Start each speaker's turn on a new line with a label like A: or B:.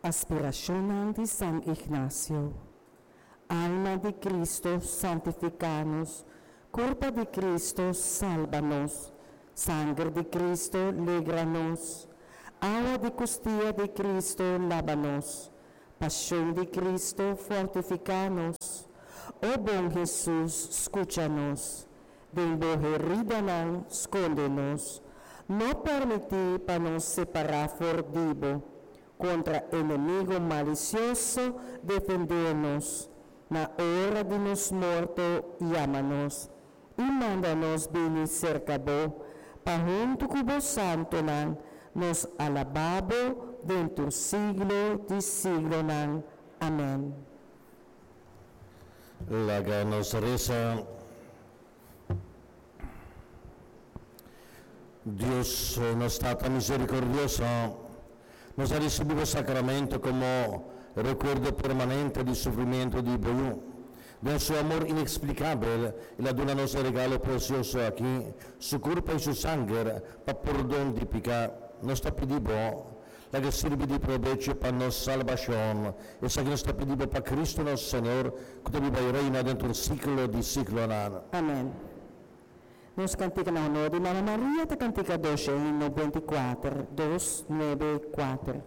A: Aspirashonnan di San Ignacio. Alma di Cristo, santifica nos. Curpa di Cristo, salba nos. Sanger di Cristo, legra nos. Awa di custia di Cristo, laba nos. Pasion di Cristo, fortifica nos. O bon Jesus, scucha nos. Den bo heridanan, sconde nos. No permiti pa nos separa for di bo. Contra enemigo malicioso, defende nos. Na ora di nos morto, yama nos. I manda nos bini serka bo, pa huntu ku bo santonan nos alabá bo den tur siglo di siglonan. Amèn.
B: Laga nos resa. Dios, nos Tata misericordioso, nos a ricibi bo sacramento como recuerdo permanente di sufrimiento di bo Yu. Den su amor inexplicabel, el a duna nos e regalo precioso aki, su curpa y su sanger, pa pordon di pica. Nos ta pidi bo, laga sirbi di probecho pa nos salbacion. Esaki nos ta pidi bo pa Cristo nos Señor, cu ta biba y reina den tur siglo di siglonan.
A: Amen. Nos cantica na honor di Mama Maria ta cantica 294, 294.